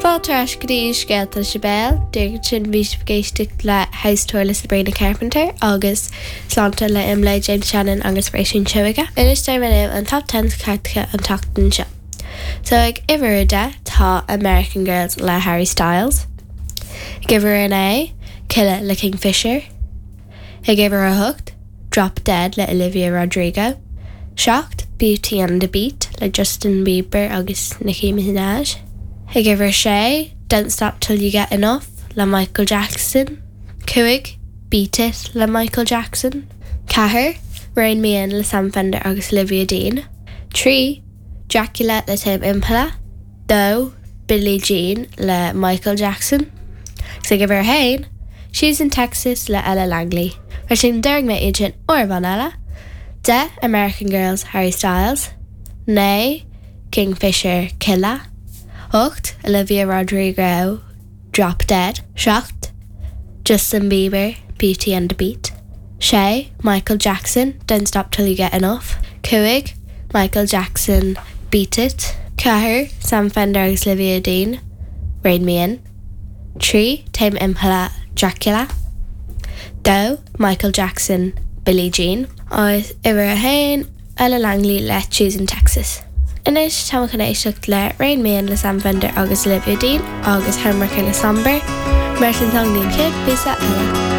Fáilte ar ais go dtí Scéalta Sibéal. Díreach ansin bhí sibh ag éisteacht le House Tour le Sabrina Carpenter agus Sláinte le Imlé, James Shannon agus Róisín Seoige. Anois déarfaidh mé libh an Top Ten cairteacha an tseachtain seo. So ag uimhir a 10 tá American Girls le Harry Styles. Ag uimhir a 9, Killa le Kingfisher. Ag uimhir a 8, Drop Dead le Olivia Rodrigo. 7, Beauty and the Beat le Justin Bieber agus Nicki Minaj. Ag uimhir 6, Don't Stop Till You Get Enough le Michael Jackson. 5, Beat It le Michael Jackson. 4, Rein Me In le Sam Fender agus Olivia Dean. 3, Dracula le Tame Impala. 2, Billie Jean le Michael Jackson. Agus ag uimhir 1, She's in Texas le Ella Langley. Mar sin déarfaidh mé iad sin uair amháin eile. 10, American Girls, Harry Styles. 9, Kingfisher, Killa. 8, Olivia Rodrigo, Drop Dead. 7, Justin Bieber, Beauty and the Beat. 6, Michael Jackson, Don't Stop Till You Get Enough. 5, Michael Jackson, Beat It. 4, Sam Fender agus Olivia Dean, Rein Me In. 3, Tame Impala, Dracula. 2, Michael Jackson, Billie Jean. Agus uimhir 1, Ella Langley le She's in Texas. Anois tá muid chun éisteacht le Rein Me In le Sam Fender agus Olivia Dean agus Homewrecker le Sombr. Mar sin tá an chéad phíosa eile.